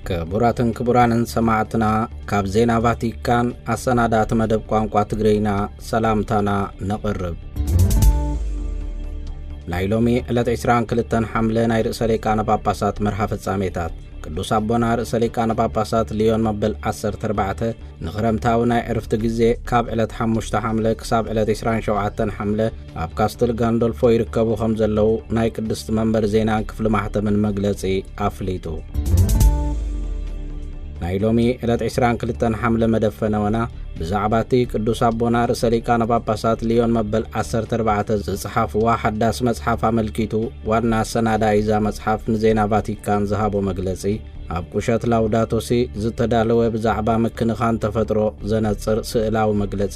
ክቡራትን ክቡራንን ሰማዕትና፣ ካብ ዜና ቫቲካን ኣሰናዳእቲ መደብ ቋንቋ ትግርኛ ሰላምታና ነቕርብ። ናይ ሎሚ ዕለት ዕስራን ክልተን ሓምለ ናይ ርእሰ ሊቃነ ጳጳሳት መርሃ ፍጻሜታት። ቅዱስ ኣቦና ርእሰ ሊቃነ ጳጳሳት ሊዮን መበል ዓሰርተ ኣርባዕተ ንኽረምታዊ ናይ ዕርፍቲ ግዜ ካብ ዕለት ሓሙሽተ ሓምለ ክሳብ ዕለት ዕስራን ሸውዓተን ሓምለ ኣብ ካስትል ጋንዶልፎ ይርከቡ ከም ዘለዉ ናይ ቅድስቲ መንበር ዜናን ክፍሊ ማሕተምን መግለጺ ኣፍሊጡ። ናይ ሎሚ ዕለት ዕስራን ክልተን ሓምለ መደብ ፈነወና ብዛዕባ እቲ ቅዱስ ኣቦና ርእሰ ሊቃነ ጳጳሳት ሊዮን መበል ዓሰርተ ኣርባዕተ ዝጸሓፍዋ ሓዳስ መጽሓፍ ኣመልኪቱ ዋና ኣሰናዳኢ እዛ መጽሓፍ ንዜና ቫቲካን ዝሃቦ መግለጺ፣ ኣብ ቁሸት ላውዳቶ ሲ ዝተዳለወ ብዛዕባ ምክንኻን ተፈጥሮ ዘነጽር ስእላዊ መግለጺ፣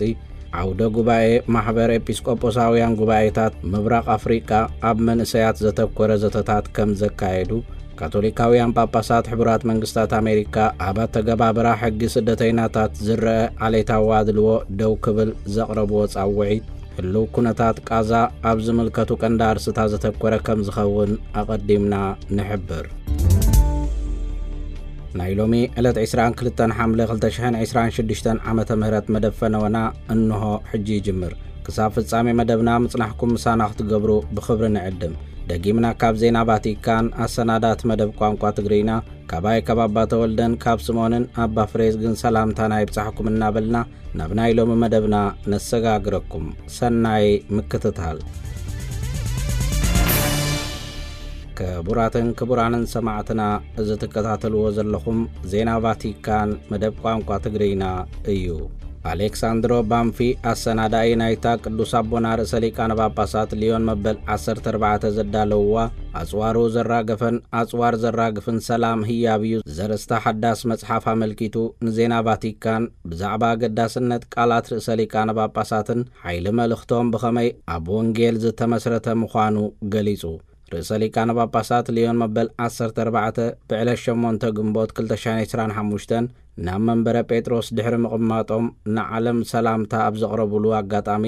ዓውደ ጉባኤ ማሕበር ኤጲስቆጶሳውያን ጉባኤታት ምብራቕ ኣፍሪቃ ኣብ መንእሰያት ዘተኮረ ዘተታት ከም ዘካየዱ፣ ካቶሊካውያን ጳጳሳት ሕቡራት መንግስታት ኣሜሪካ ኣብ ኣተገባብራ ሕጊ ስደተይናታት ዝረአ ዓሌታዊ ኣድልዎ ደው ክብል ዘቕረብዎ ጻውዒት፣ ህሉው ኩነታት ቃዛ ኣብ ዝምልከቱ ቀንዲ ኣርስታት ዘተኮረ ከም ዝኸውን ኣቐዲምና ንሕብር። ናይ ሎሚ ዕለት ዕስራን ክልተን ሓምለ ክልተ ሽሕን ዕስራን ሽዱሽተን ዓመተ ምህረት መደብ ፈነወና እንሆ ሕጂ ይጅምር። ክሳብ ፍጻሜ መደብና ምጽናሕኩም ምሳና ክትገብሩ ብኽብሪ ንዕድም። ደጊምና ካብ ዜና ቫቲካን ኣሰናዳእቲ መደብ ቋንቋ ትግርኛ፣ ካባይ ካብ ኣባ ተወልደን ካብ ስምኦንን ኣባ ፍሬዝግን ሰላምታና ይብጻሕኩም እናበልና ናብ ናይ ሎሚ መደብና ነሰጋግረኩም። ሰናይ ምክትታል። ክቡራትን ክቡራንን ሰማዕትና፣ እዚ ትከታተልዎ ዘለኹም ዜና ቫቲካን መደብ ቋንቋ ትግርኛ እዩ። ኣሌክሳንድሮ ባንፊ ኣሰናዳኢ ናይታ ቅዱስ ኣቦና ርእሰ ሊቃነ ጳጳሳት ሊዮን መበል ዓሰርተ ኣርባዕተ ዘዳለውዋ ኣጽዋሩ ዘራገፈን ኣጽዋር ዘራግፍን ሰላም ህያብ እዩ ዘርእስታ ሓዳስ መጽሓፍ ኣመልኪቱ ንዜና ቫቲካን ብዛዕባ ኣገዳስነት ቃላት ርእሰ ሊቃነ ጳጳሳትን ሓይሊ መልእኽቶም ብኸመይ ኣብ ወንጌል ዝተመስረተ ምዃኑ ገሊጹ። ርእሰ ሊቃነ ጳጳሳት ሊዮን መበል ዓሰርተ ኣርባዕተ ብዕለት ሸሞንተ ግንቦት ክልተ ሽሕን ዕስራን ሓሙሽተን ናብ መንበረ ጴጥሮስ ድሕሪ ምቕማጦም ንዓለም ሰላምታ ኣብ ዘቕረቡሉ ኣጋጣሚ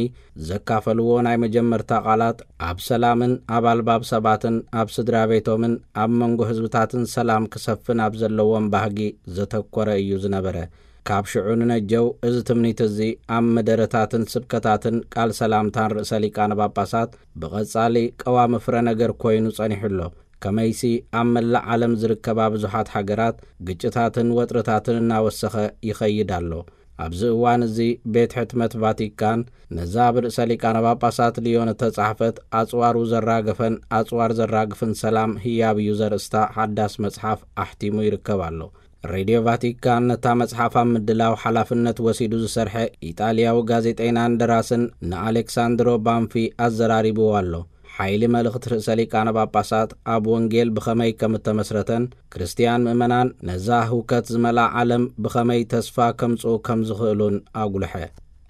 ዘካፈልዎ ናይ መጀመርታ ቃላት ኣብ ሰላምን ኣብ ኣልባብ ሰባትን ኣብ ስድራ ቤቶምን ኣብ መንጎ ህዝብታትን ሰላም ክሰፍን ኣብ ዘለዎም ባህጊ ዘተኮረ እዩ ዝነበረ። ካብ ሽዑ ንነጀው እዚ ትምኒት እዚ ኣብ መደረታትን ስብከታትን ቃል ሰላምታን ርእሰ ሊቃነ ጳጳሳት ብቐጻሊ ቀዋሚ ፍረ ነገር ኮይኑ ጸኒሑ ኣሎ። ከመይሲ ኣብ መላእ ዓለም ዝርከባ ብዙሓት ሃገራት ግጭታትን ወጥርታትን እናወሰኸ ይኸይድ ኣሎ። ኣብዚ እዋን እዚ ቤት ሕትመት ቫቲካን ነዛ ብርእሰ ሊቃነ ጳጳሳት ሊዮን እተጻሕፈት ኣጽዋሩ ዘራገፈን ኣጽዋር ዘራግፍን ሰላም ህያብ እዩ ዘርእስታ ሓዳስ መጽሓፍ ኣሕቲሙ ይርከብ ኣሎ። ሬድዮ ቫቲካን ነታ መጽሓፍ ኣብ ምድላው ሓላፍነት ወሲዱ ዝሰርሐ ኢጣልያዊ ጋዜጠይናን ደራስን ንኣሌክሳንድሮ ባንፊ ኣዘራሪብዎ ኣሎ። ሓይሊ መልእኽቲ ርእሰ ሊቃነ ጳጳሳት ኣብ ወንጌል ብኸመይ ከም እተመስረተን፣ ክርስትያን ምእመናን ነዛ ህውከት ዝመልኣ ዓለም ብኸመይ ተስፋ ከምጽኡ ከም ዝኽእሉን ኣጉልሐ።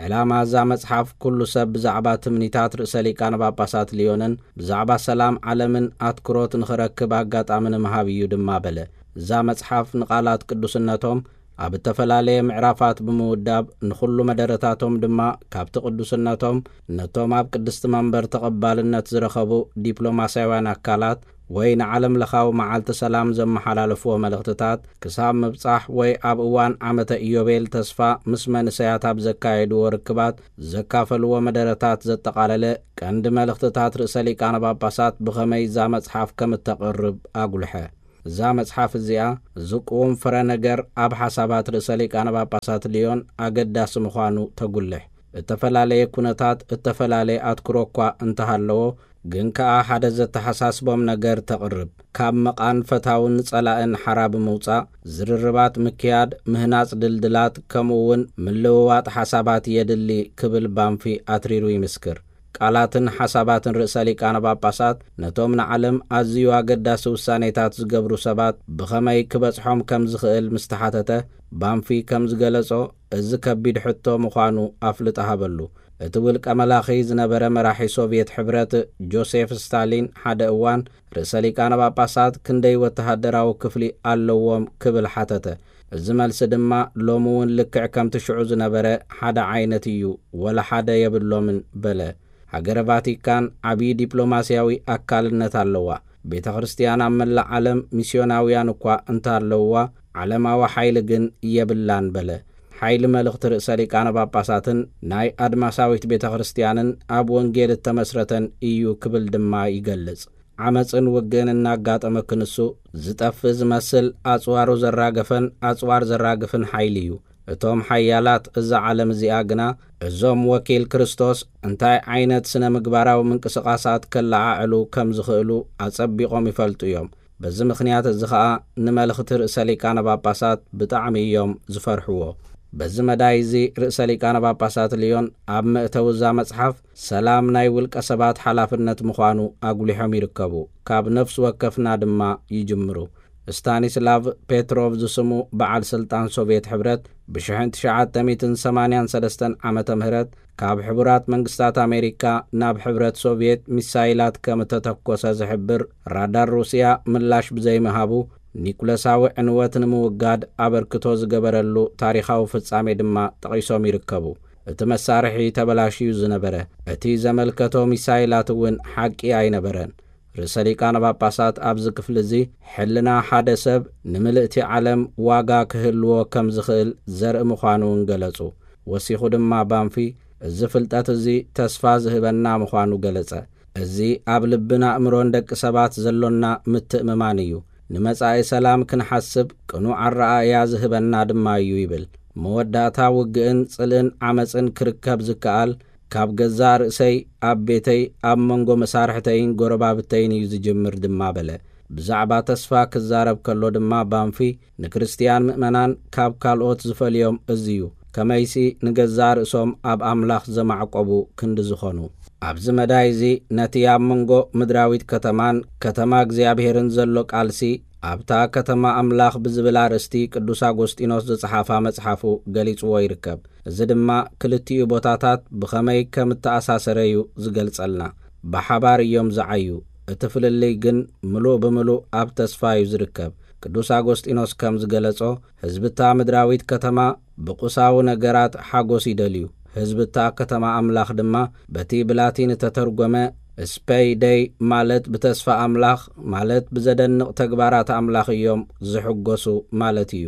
ዕላማ እዛ መጽሓፍ ኩሉ ሰብ ብዛዕባ ትምኒታት ርእሰ ሊቃነ ጳጳሳት ሊዮንን ብዛዕባ ሰላም ዓለምን ኣትኩሮት ንኽረክብ ኣጋጣሚ ንምሃብ እዩ ድማ በለ። እዛ መጽሓፍ ንቓላት ቅዱስነቶም ኣብ እተፈላለየ ምዕራፋት ብምውዳብ ንኹሉ መደረታቶም ድማ ካብቲ ቅዱስነቶም ነቶም ኣብ ቅድስቲ መንበር ተቐባልነት ዝረኸቡ ዲፕሎማስያውያን ኣካላት ወይ ንዓለም ለኻዊ መዓልቲ ሰላም ዘመሓላለፍዎ መልእኽትታት ክሳብ ምብጻሕ ወይ ኣብ እዋን ዓመተ ኢዮቤል ተስፋ ምስ መንእሰያት ኣብ ዘካየድዎ ርክባት ዘካፈልዎ መደረታት ዘጠቓለለ ቀንዲ መልእኽትታት ርእሰ ሊቃነ ጳጳሳት ብኸመይ እዛ መጽሓፍ ከም እተቕርብ ኣጉልሐ። እዛ መጽሓፍ እዚኣ ዝቅውም ፍረ ነገር ኣብ ሓሳባት ርእሰ ሊቃነ ጳጳሳት ሊዮን ኣገዳሲ ምዃኑ ተጉልሕ። እተፈላለየ ኩነታት እተፈላለየ ኣትኩሮ እኳ እንተሃለዎ፣ ግን ከኣ ሓደ ዘተሓሳስቦም ነገር ተቕርብ። ካብ መቓን ፈታውን ጸላእን ሓራ ብምውጻእ፣ ዝርርባት ምክያድ፣ ምህናጽ ድልድላት፣ ከምኡ እውን ምልውዋጥ ሓሳባት የድሊ ክብል ባንፊ ኣትሪሩ ይምስክር። ቃላትን ሓሳባትን ርእሰ ሊቃነ ጳጳሳት ነቶም ንዓለም ኣዝዩ ኣገዳሲ ውሳኔታት ዝገብሩ ሰባት ብኸመይ ክበጽሖም ከም ዝኽእል ምስ ተሓተተ፣ ባንፊ ከም ዝገለጾ፣ እዚ ከቢድ ሕቶ ምዃኑ ኣፍልጦ ሃበሉ። እቲ ውልቀ መላኺ ዝነበረ መራሒ ሶቭየት ሕብረት ጆሴፍ ስታሊን ሓደ እዋን ርእሰ ሊቃነ ጳጳሳት ክንደይ ወተሃደራዊ ክፍሊ ኣለዎም ክብል ሓተተ። እዚ መልሲ ድማ ሎሚ እውን ልክዕ ከምቲ ሽዑ ዝነበረ ሓደ ዓይነት እዩ፣ ወላ ሓደ የብሎምን በለ። ሃገረ ቫቲካን ዓብዪ ዲፕሎማስያዊ ኣካልነት ኣለዋ። ቤተ ክርስቲያን ኣብ መላእ ዓለም ሚስዮናውያን እኳ እንተኣለውዋ፣ ዓለማዊ ሓይሊ ግን የብላን በለ። ሓይሊ መልእኽቲ ርእሰ ሊቃነ ጳጳሳትን ናይ ኣድማሳዊት ቤተ ክርስቲያንን ኣብ ወንጌል እተመስረተን እዩ ክብል ድማ ይገልጽ። ዓመጽን ውግእን እናጋጠመ ክንሱ ዝጠፍእ ዝመስል ኣጽዋሩ ዘራገፈን ኣጽዋር ዘራግፍን ሓይሊ እዩ። እቶም ሓያላት እዛ ዓለም እዚኣ ግና እዞም ወኪል ክርስቶስ እንታይ ዓይነት ስነ ምግባራዊ ምንቅስቓሳት ከለዓዕሉ ከም ዝኽእሉ ኣጸቢቖም ይፈልጡ እዮም። በዚ ምኽንያት እዚ ኸኣ ንመልእኽቲ ርእሰ ሊቃነ ጳጳሳት ብጣዕሚ እዮም ዝፈርሕዎ። በዚ መዳይ እዚ ርእሰ ሊቃነ ጳጳሳት ልዮን ኣብ መእተዊ እዛ መጽሓፍ ሰላም ናይ ውልቀ ሰባት ሓላፍነት ምዃኑ ኣጉሊሖም ይርከቡ። ካብ ነፍሲ ወከፍና ድማ ይጅምሩ። ስታኒስላቭ ፔትሮቭ ዝስሙ በዓል ስልጣን ሶቭየት ሕብረት ብ ትሽዓተ ሚእትን ሰማንያን ሰለስተን ዓመተ ምህረት ካብ ሕቡራት መንግስታት ኣሜሪካ ናብ ሕብረት ሶቭየት ሚሳይላት ከም እተተኮሰ ዝሕብር ራዳር ሩስያ ምላሽ ብዘይምሃቡ፣ ኒኩለሳዊ ዕንወት ንምውጋድ ኣበርክቶ ዝገበረሉ ታሪኻዊ ፍጻሜ ድማ ጠቒሶም ይርከቡ። እቲ መሳርሒ ተበላሽዩ ዝነበረ፣ እቲ ዘመልከቶ ሚሳይላት እውን ሓቂ ኣይነበረን። ርእሰ ሊቃነ ጳጳሳት ኣብዚ ክፍሊ እዚ ሕልና ሓደ ሰብ ንምልእቲ ዓለም ዋጋ ክህልዎ ከም ዝኽእል ዘርኢ ምዃኑ እውን ገለጹ። ወሲኹ ድማ ባንፊ፣ እዚ ፍልጠት እዚ ተስፋ ዝህበና ምዃኑ ገለጸ። እዚ ኣብ ልብን ኣእምሮን ደቂ ሰባት ዘሎና ምትእምማን እዩ። ንመጻኢ ሰላም ክንሓስብ ቅኑዕ ኣረኣእያ ዝህበና ድማ እዩ ይብል። መወዳእታ ውግእን ጽልእን ዓመጽን ክርከብ ዝከኣል ካብ ገዛእ ርእሰይ፣ ኣብ ቤተይ፣ ኣብ መንጎ መሳርሕተይን ጎረባብተይን እዩ ዝጅምር ድማ በለ። ብዛዕባ ተስፋ ክዛረብ ከሎ ድማ ባንፊ ንክርስትያን ምእመናን ካብ ካልኦት ዝፈልዮም እዚ እዩ። ከመይሲ ንገዛእ ርእሶም ኣብ ኣምላኽ ዘማዕቆቡ ክንዲ ዝኾኑ። ኣብዚ መዳይ እዚ ነቲ ኣብ መንጎ ምድራዊት ከተማን ከተማ እግዚኣብሔርን ዘሎ ቃልሲ ኣብታ ከተማ ኣምላኽ ብዝብል ኣርእስቲ ቅዱስ ኣጎስጢኖስ ዝጸሓፋ መጽሓፉ ገሊጽዎ ይርከብ። እዚ ድማ ክልቲኡ ቦታታት ብኸመይ ከም እተኣሳሰረ እዩ ዝገልጸልና። ብሓባር እዮም ዝዓዩ። እቲ ፍልልይ ግን ምሉእ ብምሉእ ኣብ ተስፋ እዩ ዝርከብ። ቅዱስ ኣጎስጢኖስ ከም ዝገለጾ፣ ህዝብታ ምድራዊት ከተማ ብቁሳዊ ነገራት ሓጎስ ይደልዩ። ህዝብታ ከተማ ኣምላኽ ድማ በቲ ብላቲን እተተርጎመ ስፐይ ደይ ማለት ብተስፋ ኣምላኽ ማለት ብዘደንቕ ተግባራት ኣምላኽ እዮም ዝሕጎሱ ማለት እዩ።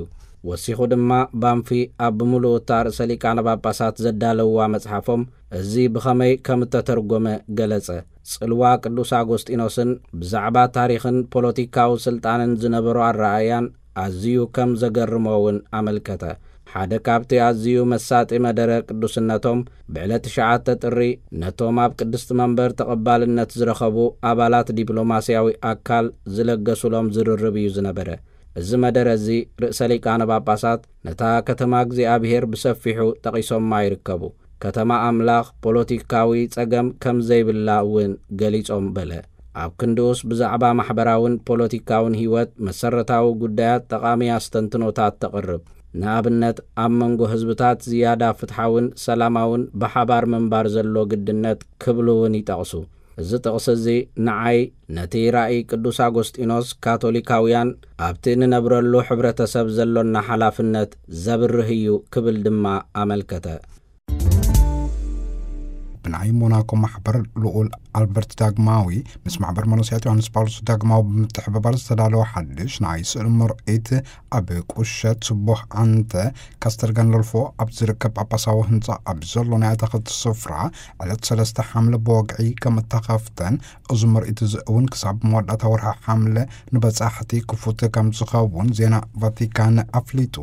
ወሲኹ ድማ ባንፊ ኣብ ብምሉእ እታ ርእሰ ሊቃነ ጳጳሳት ዘዳለውዋ መጽሓፎም እዚ ብኸመይ ከም እተተርጎመ ገለጸ። ጽልዋ ቅዱስ ኣጎስጢኖስን ብዛዕባ ታሪኽን ፖለቲካዊ ስልጣንን ዝነበሮ ኣረኣእያን ኣዝዩ ከም ዘገርሞ እውን ኣመልከተ። ሓደ ካብቲ ኣዝዩ መሳጢ መደረ ቅዱስነቶም ብዕለት ትሽዓተ ጥሪ ነቶም ኣብ ቅድስቲ መንበር ተቐባልነት ዝረኸቡ ኣባላት ዲፕሎማስያዊ ኣካል ዝለገሱሎም ዝርርብ እዩ ዝነበረ። እዚ መደረ እዚ ርእሰ ሊቃነ ጳጳሳት ነታ ከተማ እግዚኣብሔር ብሰፊሑ ጠቒሶማ ይርከቡ። ከተማ ኣምላኽ ፖለቲካዊ ጸገም ከም ዘይብላ እውን ገሊጾም በለ። ኣብ ክንድኡስ ብዛዕባ ማሕበራውን ፖለቲካውን ህይወት መሰረታዊ ጉዳያት ጠቓሚ ኣስተንትኖታት ተቕርብ። ንኣብነት ኣብ መንጎ ህዝብታት ዝያዳ ፍትሓውን ሰላማውን ብሓባር ምንባር ዘሎ ግድነት ክብሉ እውን ይጠቕሱ። እዚ ጥቕሲ እዚ ንዓይ ነቲ ራእይ ቅዱስ ኣጎስጢኖስ ካቶሊካውያን ኣብቲ እንነብረሉ ሕብረተሰብ ዘሎና ሓላፍነት ዘብርህ እዩ ክብል ድማ ኣመልከተ። ብናይ ሞናኮ ማሕበር ልኡል ኣልበርት ዳግማዊ ምስ ማሕበር መነስያት ዮሃንስ ጳውሎስ ዳግማዊ ብምትሕብባር ዝተዳለወ ሓድሽ ናይ ስእሊ ምርኢት ኣብ ቁሸት ስቡሕ ኣንተ ካስተል ጋንዶልፎ ኣብ ዝርከብ ጳጳሳዊ ህንፃ ኣብ ዘሎ ናይ ኣታኽልቲ ስፍራ ዕለት ሰለስተ ሓምለ ብወግዒ ከም እተኸፍተን፣ እዚ ምርኢት እዚ እውን ክሳብ መወዳእታ ወርሒ ሓምለ ንበጻሕቲ ክፉት ከም ዝኸውን ዜና ቫቲካን ኣፍሊጡ።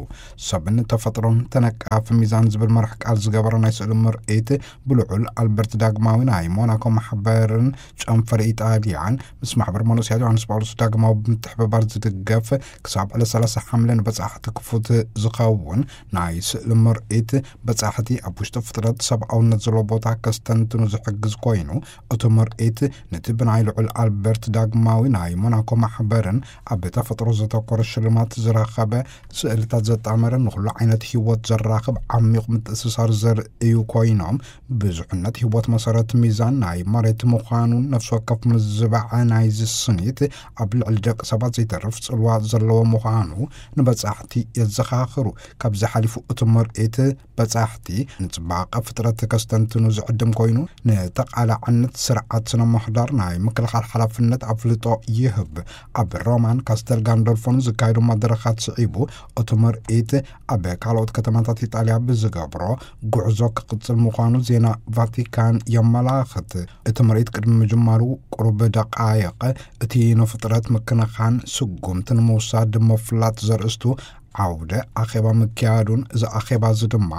ሰብን ተፈጥሮን ተነቃፊ ሚዛን ዝብል መራሕ ቃል ዝገበረ ናይ ስእሊ ምርኢት ብልዑል ኣልበርት ዳግማዊ ናይ ሞናኮ ማሕበርን ጨንፈር ኢጣልያን ምስ ማሕበር መነስያት ዮሃንስ ጳውሎስ ዳግማዊ ብምትሕብባር ዝድገፍ ክሳብ ዕለት ሰላሳ ሓምለ ንበጻሕቲ ክፉት ዝኸውን ናይ ስእሊ ምርኢት በጻሕቲ ኣብ ውሽጢ ፍጥረት ሰብኣውነት ዘለዎ ቦታ ከስተንትኑ ዝሕግዝ ኮይኑ፣ እቲ ምርኢት ነቲ ብናይ ልዑል ኣልበርት ዳግማዊ ናይ ሞናኮ ማሕበርን ኣብ ተፈጥሮ ዘተኮረ ሽልማት ዝረኸበ ስእልታት ዘጣመረ ንኹሉ ዓይነት ህይወት ዘራኽብ ዓሚቕ ምትእስሳር ዘርእዩ ኮይኖም፣ ብዙሕነት ህቦት መሰረት ሚዛን ናይ መሬት ምዃኑን ነፍሲ ወከፍ ምዝባዕ ናይዚ ስኒት ኣብ ልዕሊ ደቂ ሰባት ዘይተርፍ ጽልዋ ዘለዎ ምዃኑ ንበጻሕቲ የዘኻኽሩ። ካብዚ ሓሊፉ እቲ ምርኢት በጻሕቲ ንጽባቐ ፍጥረት ከስተንትኑ ዝዕድም ኮይኑ፣ ንተቓላዕነት ስርዓት ስነ ምህዳር ናይ ምክልኻል ሓላፍነት ኣፍልጦ ይህብ። ኣብ ሮማን ካስተል ጋንዶልፎን ዝካየዱ መድረኻት ስዒቡ፣ እቲ ምርኢት ኣብ ካልኦት ከተማታት ኢጣልያ ብዝገብሮ ጉዕዞ ክቕጽል ምዃኑ ዜና ቫቲካን የመላኽት። እቲ ምርኢት ቅድሚ ምጅማሩ ቁሩብ ደቃይቕ፣ እቲ ንፍጥረት ምክንኻን ስጉምቲ ንምውሳድ ምፍላጥ ዘርእስቱ ዓውደ ኣኼባ ምክያዱን፣ እዚ ኣኼባ እዚ ድማ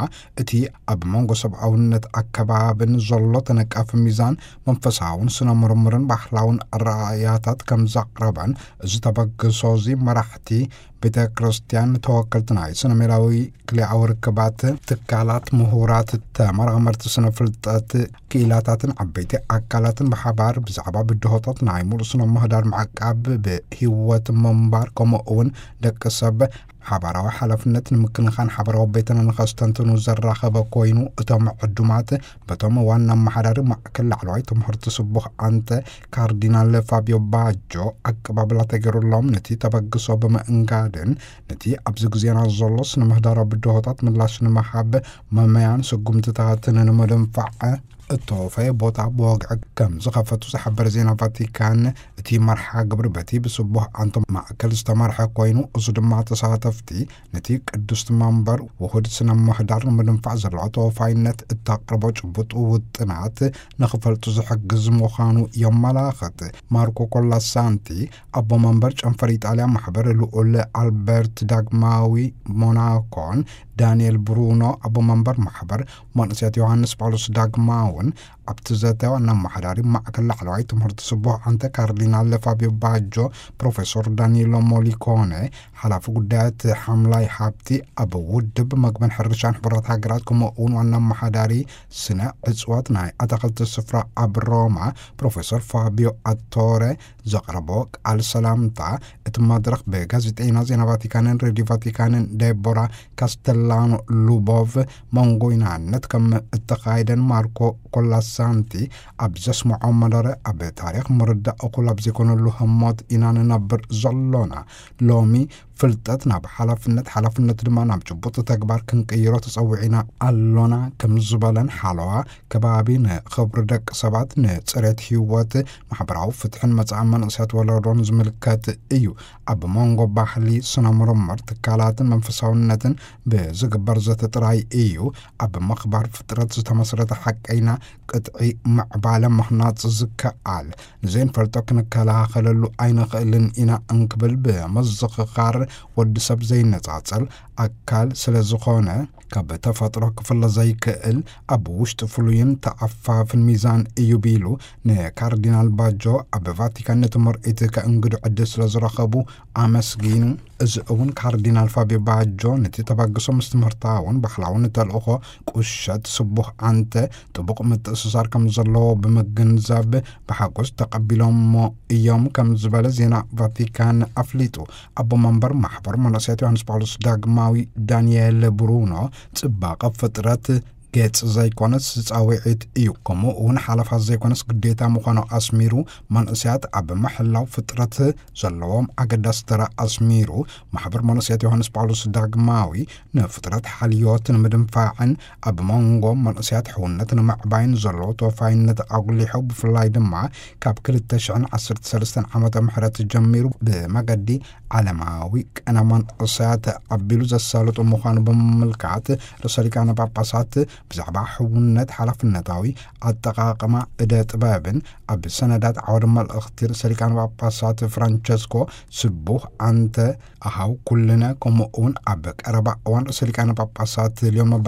እቲ ኣብ መንጎ ሰብኣውነት ኣከባብን ዘሎ ተነቃፊ ሚዛን መንፈሳውን ስነ ምርምርን ባህላውን ኣረኣእያታት ከም ዘቕረበን፣ እዚ ተበግሶ እዚ መራሕቲ ቤተ ክርስቲያን፣ ተወከልቲ ናይ ስነ ሜላዊ ክልኣዊ ርክባት ትካላት፣ ምሁራት፣ ተመራመርቲ ስነ ፍልጠት ክኢላታትን ዓበይቲ ኣካላትን ብሓባር ብዛዕባ ብድሆታት ናይ ሙሉእ ስነ ምህዳር ምዕቃብ፣ ብህይወት ምንባር፣ ከምኡ እውን ደቂ ሰብ ሓባራዊ ሓላፍነት ንምክንኻን ሓባራዊ ቤትና ንኸስተንትኑ ዘራኸበ ኮይኑ፣ እቶም ዕዱማት በቶም ዋና ኣመሓዳሪ ማእከል ላዕለዋይ ትምህርቲ ስቡሕ ኣንተ ካርዲናል ፋቢዮ ባጆ ኣቀባብላ ተገይሩሎም፣ ነቲ ተበግሶ ብምእንጋድን ነቲ ኣብዚ ግዜና ዘሎ ስነ ምህዳራዊ ብድሆታት ምላሽ ንምሃብ መመያን ስጉምትታትን ንምድንፋዕ እተወፈየ ቦታ ብወግዒ ከም ዝኸፈቱ ዝሓበረ ዜና ቫቲካን፣ እቲ መርሓ ግብሪ በቲ ብስቡሕ ኣንቶ ማእከል ዝተመርሐ ኮይኑ፣ እዚ ድማ ተሳተፍቲ ነቲ ቅዱስ መንበር ውሁድ ስነ ምህዳር ንምድንፋዕ ዘለዋ ተወፋይነት እተቕርቦ ጭቡጥ ውጥናት ንኽፈልጡ ዝሕግዝ ምዃኑ የመላኽት። ማርኮ ኮላሳንቲ፣ ኣቦ መንበር ጨንፈር ኢጣልያ ማሕበር ልኡል ኣልበርት ዳግማዊ ሞናኮን፣ ዳንኤል ብሩኖ፣ ኣቦ መንበር ማሕበር መንእሰያት ዮሃንስ ጳውሎስ ዳግማውን፣ ኣብቲ ዘተ ዋና ኣመሓዳሪ ማእከል ላዕለዋይ ትምህርቲ ስቡሕ ኣንተ ካርዲናል ፋቢዮ ባጆ፣ ፕሮፌሶር ዳኒሎ ሞሊኮነ፣ ሓላፊ ጉዳያት ሓምላይ ሃብቲ ኣብ ውድብ መግብን ሕርሻን ሕቡራት ሃገራት፣ ከምኡ እውን ዋና ኣመሓዳሪ ስነ ዕፅዋት ናይ ኣታኽልቲ ስፍራ ኣብ ሮማ ፕሮፌሶር ፋቢዮ ኣቶረ ዘቕረቦ ቃል ሰላምታ፣ እቲ መድረኽ ብጋዜጠይና ዜና ቫቲካንን ሬድዮ ቫቲካንን ዴቦራ ካስተላኖ ሉቦቭ መንጎይናነት ከም እተኻየደን፣ ማርኮ ኮላሳንቲ ኣብ ዘስምዖ መደረ፣ ኣብ ታሪኽ ምርዳእ እኹል ኣብ ዘይኮነሉ ህሞት ኢና ንነብር ዘሎና። ሎሚ ፍልጠት ናብ ሓላፍነት፣ ሓላፍነት ድማ ናብ ጭቡጥ ተግባር ክንቅይሮ ተጸዊዕና ኣሎና ከም ዝበለን፣ ሓለዋ ከባቢ ንኽብሪ ደቂ ሰባት፣ ንጽሬት ህይወት፣ ማሕበራዊ ፍትሕን መጻኢ መንእሰያት ወለዶን ዝምልከት እዩ። ኣብ መንጎ ባህሊ፣ ስነ ምርምር፣ ትካላትን መንፈሳውነትን ብዝግበር ዘተ ጥራይ እዩ ኣብ ምኽባር ፍጥረት ዝተመስረተ ሓቀይና ቅጥዒ ምዕባለ ምህናጽ ዝከኣል። ንዘይንፈልጦ ክንከላኸለሉ ኣይንኽእልን ኢና እንክብል ብምዝኽኻር፣ ወዲ ሰብ ዘይነጻጸል ኣካል ስለ ዝኾነ፣ ካብ ተፈጥሮ ክፍለ ዘይክእል ኣብ ውሽጢ ፍሉይን ተኣፋፍን ሚዛን እዩ ቢሉ፣ ንካርዲናል ባጆ ኣብ ቫቲካን ነቲ ምርኢት ከእንግዱ ዕድል ስለ ዝረኸቡ ኣመስጊኑ። እዚ እውን ካርዲናል ፋቢዮ ባጆ ነቲ ተበግሶ ምስ ትምህርታውን ባህላውን ተልእኾ ቁሸት ስቡሕ ኣንተ ጥቡቕ ምትእስሳር ከም ዘለዎ ብምግንዛብ ብሓጎስ ተቐቢሎሞ እዮም ከም ዝበለ ዜና ቫቲካን ኣፍሊጡ። ኣቦ መንበር ማሕበር መነኮሳት ዮሃንስ ጳውሎስ ዳግማዊ ዳንኤል ብሩኖ፣ ጽባቐ ፍጥረት ገጽ ዘይኮነስ ጻውዒት እዩ፣ ከምኡ እውን ሓለፋት ዘይኮነስ ግዴታ ምዃኑ ኣስሚሩ፣ መንእሰያት ኣብ ምሕላው ፍጥረት ዘለዎም ኣገዳሲ ተራ ኣስሚሩ፣ ማሕበር መነኮሳት ዮሃንስ ጳውሎስ ዳግማዊ ንፍጥረት ሓልዮት ንምድንፋዕን ኣብ መንጎ መንእሰያት ሕውነት ንምዕባይን ዘለዎ ተወፋይነት ኣጉሊሑ፣ ብፍላይ ድማ ካብ ክልተ ሽሕን ዓሰርተ ሰለስተን ዓመተ ምህረት ጀሚሩ ብመገዲ ዓለማዊ ቅነ መንእሰያት ኣቢሉ ዘሳልጡ ምዃኑ ብምምልካት፣ ርእሰ ሊቃነ ጳጳሳት ብዛዕባ ሕውነት፣ ሓላፍነታዊ ኣጠቓቕማ እደ ጥበብን ኣብ ሰነዳት ዓውደ መልእኽቲ ርእሰ ሊቃነ ጳጳሳት ፍራንቸስኮ ስቡሕ ኣንተ ኣሃው ኩልነ፣ ከምኡ እውን ኣብ ቀረባ እዋን ርእሰ ሊቃነ ጳጳሳት ሊዮን